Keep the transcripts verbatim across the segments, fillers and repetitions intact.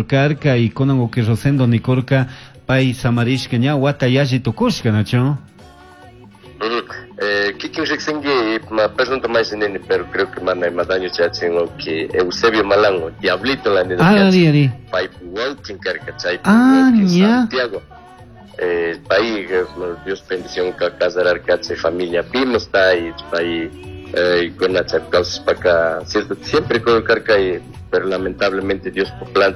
Karka y kunan uki Rosendo nikurka pay samarishka ña wata yalli tukushka, nachu? Eh, kikin riqsinki ma perdón nini, pero creo que mana ima daño chayachin que Eusebio Malango, Diablito la nini. Ah, ari, ari. Pay wawqin karka chaypi Ah, ña. Santiago. Eh, pay eh, Dios bendición ka casararka chay familia pimos ta y pay eh, kuna chay kawsashpaka cierto siempre karka y pero lamentablemente Dios por plan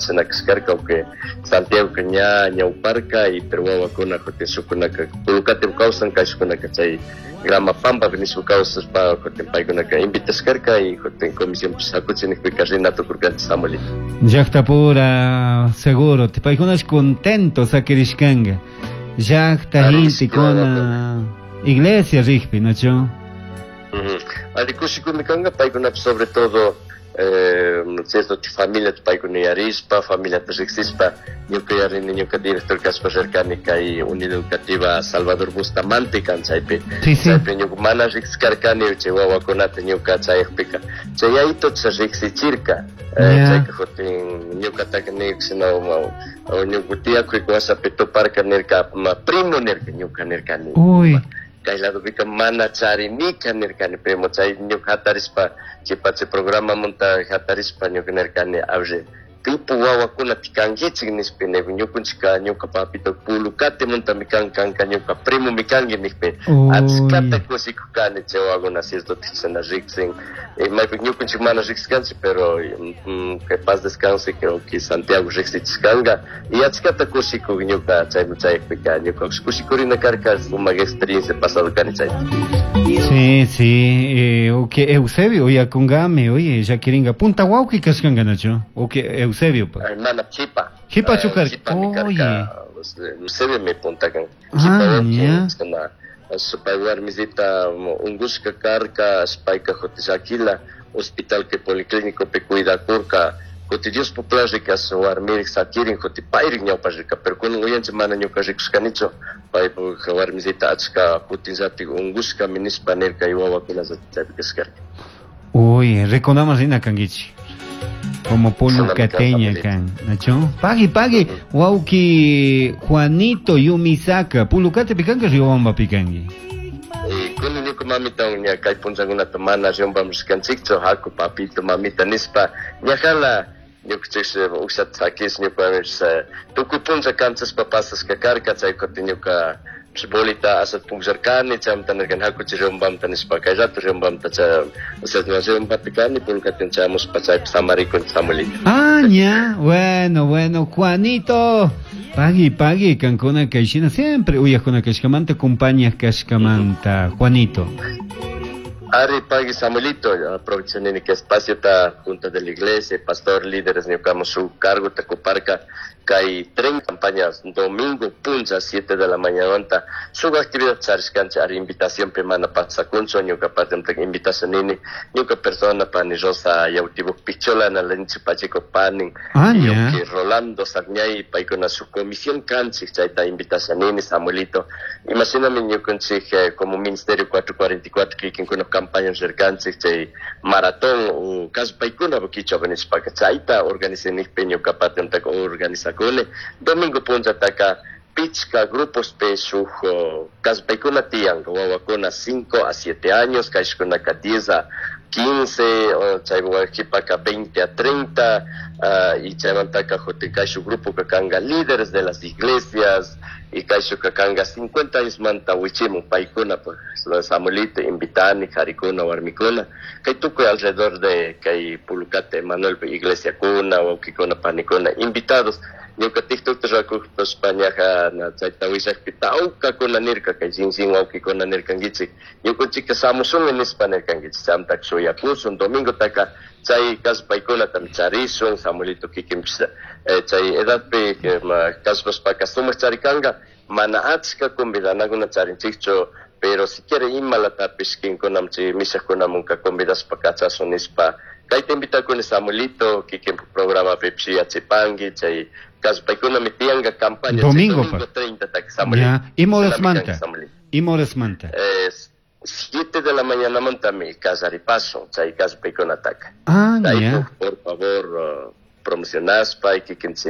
karka que Santiago que ña ñawparka y pero wawakuna kutin shukunaka Pulucate kawsan kayshkunaka chay Gramapampa nishpa kawsashpa kutin paykunaka invitashkarka y kutin comisión hakuchinikpika rina tukurkanchik Samuelito. Llaqtapura seguro, paykunash contento sakirishkanka. Llaqta gentekuna iglesia rikpi, nachu? Ari kushikumi kanka paykunapish sobre todo eh, cierto familia paykuna yarishpa familiata riqsishpa ñuka yarini ñuka director kashpa rirkani kay unidad educativa Salvador Bustamante kan chaypi. Sí, sí. Chaypi ñuka mana riqsikarkani chay wawakunata ñuka chayakpika chay yayito riqsichirka. Ya. Chayka kutin ñukataka nirka ñuka tiyakuy wasapi tuparka nirka ma primo nirka ñuka nirkani. Uy. Kay ladopika mana charinika nirkani primo chay ñuka hatarishpa chay chay programamanta hatarishpa ñuka nirkani abri pipu wawakunata kankichik nishpa ñukunchika ñuka papito Pulucatemuntami kan kanka ñuka primomi kanki nikpi achkata kushikukani chay wawakuna cierto chashna riksin maypika ñukunchik mana riqsikanchik pero mm, que paz descanse creo que Santiago riqsichishkanka y achkata kushikuk ñuka chayman chayakpika ñuka kushikurina karka sumak experiencia pasado kani chay. Sí, sí, eh, o que Eusebio, uyakunkami, oye, llakirinka punta wawqi kashkanka, nachu? O que Eusebio pa. Hermana Chipa. Chipa chu karka. Chipami Oye. karka, Eusebio mi punta kan. Ah, Chipa wawqi, ya. chashna supay warmisita ungushka karka, payka kutin llakila hospital que policlínico pe cuidakurka kutin Dios plan rikas warmirik sakirin kutin payrik ñawpa rirka pero kunan uyanchik mana ñuka rikushkanichu paypuk warmisita achka kutinllatik ungushkami nishpa nirka y wawakuna chaypi kashkarka. Uy, rikunaman rina kankichik. Como pulucateña kan, nachu? Pagui, pagui, wawqi Juanito Yumisaka, Pulucate pikanki Riobamba pikanki. Kunan ñuka mamita ña kay punllakunata mana Riobamba rishkanchikchu haku papito mamita nishpa ñajala ñukanchik ukshata sakish ñuka tukuy punlla kanchashpa pasashka karka chay kutin ñuka bolita ashat pukllarkani chaymanta nirkani hakuchik Riobambamta nishpa kay rato Riobambamta chay Riobambapi kani Pulucateman chayamushpa chaypi samarikuni Samuelito. Ah, ña, bueno, bueno, Juanito. Pagui, pagui, kankuna kayshina siempre uyakuna kashkamanta, compañías kashkamanta, Juanito. Ari pagui Samuelito, aprovecho nini que espacio ta junta de la iglesia, pastor, líderes, ñukamos su cargo ta kuparka, kay tren campañas domingo puncha siete de la mañana, su actividad charishkancha ari invitación pe mana pasakuncho, ñuka parte invitación nini, ñuka persona pani Rosa Yautibuk Pichola na lenchi Pacheco panin, Ah, ya. que Rolando Sagñay paykuna su comisión kanchik chayta invitación nini Samuelito. Imagíname ñukanchik eh, como ministerio cuatro cuarenta y cuatro kikinkuna campaña rirkanchik chay maratón o caso paykuna kichwa nishpaka chayta organizanikpi ñuka parte organizakuni domingo punchataka pichka grupos pe shuk caso paykuna tiyan wawakuna cinco a siete años kayshkunaka diez a quince chay qhipaka veinte a treinta uh, y chaymantaka kutin kayshuk grupo kanga líderes de las iglesias y kayshuka kanga cincuenta años manta wichimun paykuna pues Samuelito invitani qarikuna warmikuna kay tukuy alrededor de kay Pulucate Manuel iglesia kuna wawqikuna panikuna invitados ñuka TikTokta rakushpa ñaja chayta willakpi tawkakuna nirka kay shinsin wawqikuna nirkankichik ñukanchikka samushunmi nishpa nirkankichik chaymantaka shuyakushun domingotaka chay kallpaykunatami charishun Samuelito kikinpish chay edadpi kallpashpaka sumak charikanka mana achka convidanakuna charinchikchu pero si quiere imalatapish kinkunam chay mishakkunamunka convidashpa kachashun nishpa kayta invitakuni Samuelito kikin programapipish yachipanki chay kallpaykunami tiyanka campaña Domingo, domingo treinta taka Samuelito. Ya, ima horasmanta? Ima horasmanta? Eh, siete de la mañana mantami kallaripasun chay kallpaykunataka. Ah, ya. Por favor, uh, promocionashpa y kikinchik